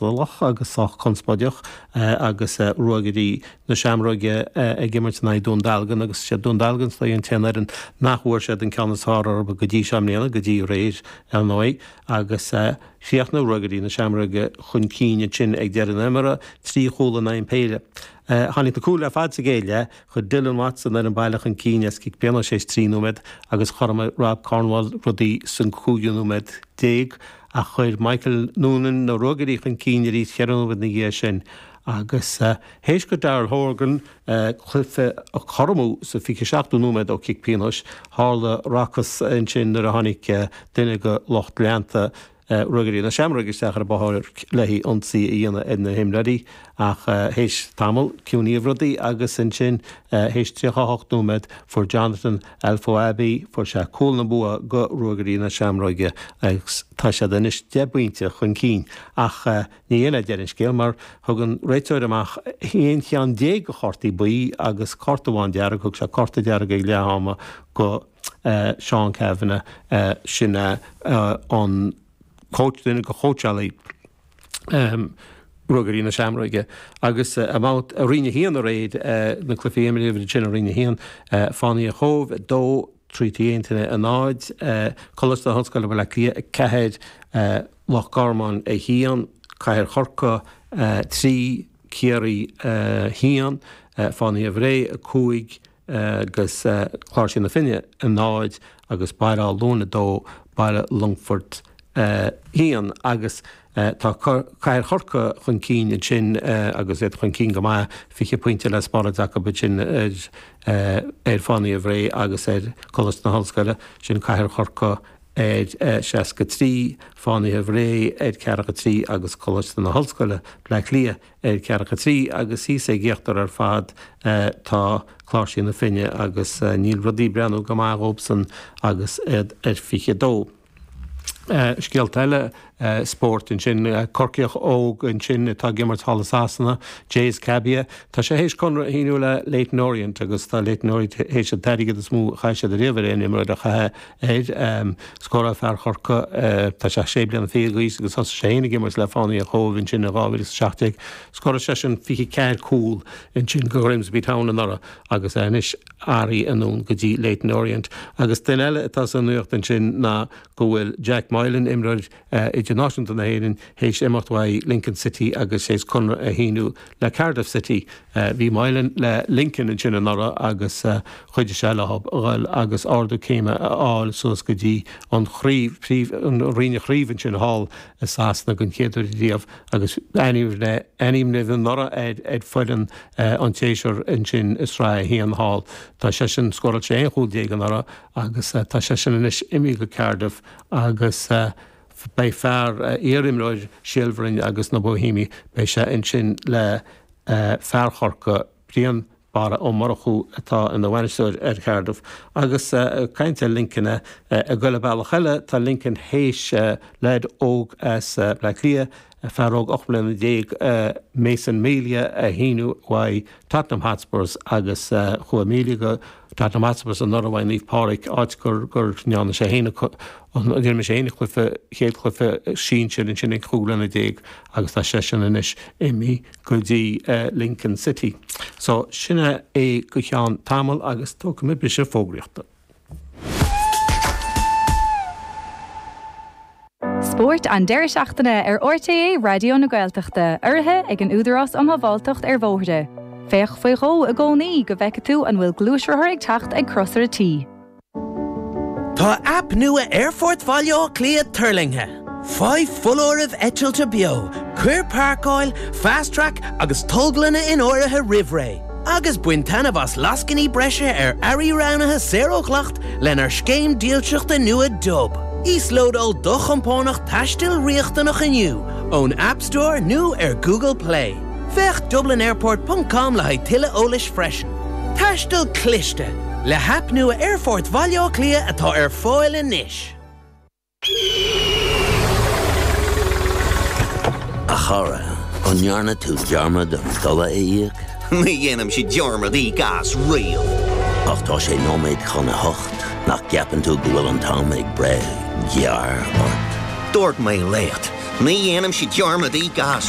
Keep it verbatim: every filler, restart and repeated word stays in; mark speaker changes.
Speaker 1: cantalach agus sách conspóideach agus Ruagairí na Seamróige ag imirt in aghaidh Dún Dealgan agus sé Dún Dealgan is dóigh an t-aon fhoireann nach bhfuair siad an ceann is fearr orthu go dtí seo i mbliana, go dtí aréir ar ndóigh, agus chríochnaigh Ruagairí na Seamróige chun cinn ansin ag deireadh na himeartha, trí chúl in aghaidh an péire. Tháinig na cúil ar fad sa gcéad leath, chuir Dylan Watson an baile chun cinn as cic pionóis théis trí nóiméad agus chothromaigh Rob Cornwall rudaí san cúigiú nóiméad déag ach chuir Michael Noonan na Ruagairí chun cinn arís ceithre nóiméad ina dhiaidh sin agus théis go Daryl Horgan cluiche a chothromú sa fiche seachtú nóiméad ó chic pionóis, tharla racas ansin nuair a tháinig duine de lucht leanta Ruagairí na Seamróige isteach ar an bpáirc le hionsaí a dhéanamh ar na himreoirí ach théis tamall ciúnaíodh rudaí agus ansin théis tríocha a hocht nóiméad fuair Jonathan Alfoabi fuair sé cúl na bua go Ruagairí na Seamróige agus tá siad anois deich bpointe chun cinn ach ní hin é deireadh an scéil mar thug an réiteoir amach aon cheann déag de chártaí buí agus cárta amháin dearg, thug sé cárta dearg ag leath ama go Seán Cavanagh, sin é an coach, duine de chóitseálaí Ruagairí na Seamróige. Agus i mbabhta i Roinn a haon aréir, na cluichí a imríodh ansin i Roinn a haon, Fánaithe an Chóibh a dó, Trinity Aontana a náid, Coláiste na hOllscoile Baile Átha Cliath a ceathair, Loch Garman a haon, Cathair Chorcaí a trí, Ciarraí a haon, Fánaithe Bhré a cúig, agus Cláirsigh na Finne a náid agus Baile Átha Luain a dó, Baile Longfoirt a haon agus tá Cathair Chorcaí chun cinn ansin agus iad chun cinn go maith, fiche pointe le spáráid acu ansin ar ar Fánaithe Bhré agus ar Coláiste na hOllscoile, sin Cathair Chorcaí ar seasca trí, Fánaithe Bhré ar ceathracha trí agus Coláiste na hOllscoile, Bleá Cliath ar ceathracha trí agus thíos ag íochtar ar fad tá Cláirsigh na Finne agus níl rudaí ag breathnú go maith dhóibhsan agus iad ar fiche dó. Scéalta eile spóirt ansin, Corcaíoch óg ansin atá ag imirt thall i Sasana, Jaze Kabia, tá sé théis conradh a shíniú le Leyton Orient agus tá Leyton Orient théis an t-airgead is mó a chaith siad ariamh ar aon imreoir a chaitheamh air. Scóráil fear Chorcaí, tá sé sé bliana fichead d'aois agus thosaigh sé féin ag imirt le Fánaithe an Chóibh ansin in dhá mhíle is a seacht déag. Scóráil seisean fiche ceathair cúl ansin go Grimsby Town anuraidh agus é anois athraithe anonn go dtí Leyton Orient. Agus duine eile atá sa nuacht ansin ná go bhfuil Jack Moylan, imreoir idirnáisiúnta na hÉireann, théis imeacht uaidh Lincoln City agus théis conradh a shíniú le Cardiff City. Bhí Moylan le Lincoln ansin anuraidh agus chuidigh sé leo a dhul agus ardú céime a fháil suas go dtí an chraobh, príomh, an roinn chraoibhe ansin thall i Sasana den chéad uair riamh agus ainmníodh anuraidh ar ar foireann an tséasúir ansin i Sraith a haon thall. Tá seisean, scóráil sé aon chúl déag anuraidh agus tá seisean anois imithe go Cardiff agus beidh fear, iar-imreoir Shíol Bhroin agus na Boihéamaigh, beidh sé ansin le fear Chorcaí, Brian Barra Ó Murchú atá ina bhainisteoir ar Cardiff. Agus ag caint ar Lincoln, ag goil an bealach eile, tá Lincoln théis leaid óg as Bleá Cliath, fear óg ocht mbliana déag, Mason Melia a shíniú uaidh Tottenham Hotspurs agus chuaigh Melia go Tottenham Hotspurs anuraidh uaidh Naomh Pádraig, áit gur gur ndearna sé féin a d'imir sé féin a chluiche chéad chluiche sinsir ansin ag cúig bliana déag agus tá seisean anois imithe go dtí Lincoln City. So sin é go ceann tamaill agus tógfaidh mé briseadh fógraíochta.
Speaker 2: Spórt an deireadh seachtaine ar R T É Raidió na Gaeltachta, urraithe ag an Údarás um Shábháilteacht ar Bhóithre. Féach faoi dhó i gcónaí go bhfeice tú an bhfuil gluaisrothar ag teacht ag crosaire T.
Speaker 3: Tá aip nua Aerfort Bhaile Átha Cliath tuirlingthe. Faigh foláirimh eitilte beo, cuir páirceáil, Fast Track agus tolglanna in áirithe roimh ré, agus bain taitneamh as lascainí breise ar earraí roghnaithe saor ó dhleacht lenár scéim dílseachta nua Dub. Íoslódáil do chompánach taistil riachtanach inniu ón App Store nó ar Google Play. Féach dublinairport ponc com le haghaidh tuilleadh eolais freisin. Taisteal cliste le haip nua Aerfort Bhaile Átha Cliath atá ar fáil anois.
Speaker 4: A chara, an ndearna tú dearmad an dola a íoc?
Speaker 5: Ní dhéanaimse dearmad íoc as riamh.
Speaker 4: Ach tá sé nóiméad chun a hocht, nach gceapann tú go bhfuil an t-am ag breith gearr ort?
Speaker 5: Dúirt mé leat, ní dhéanaimse dearmad íoc as.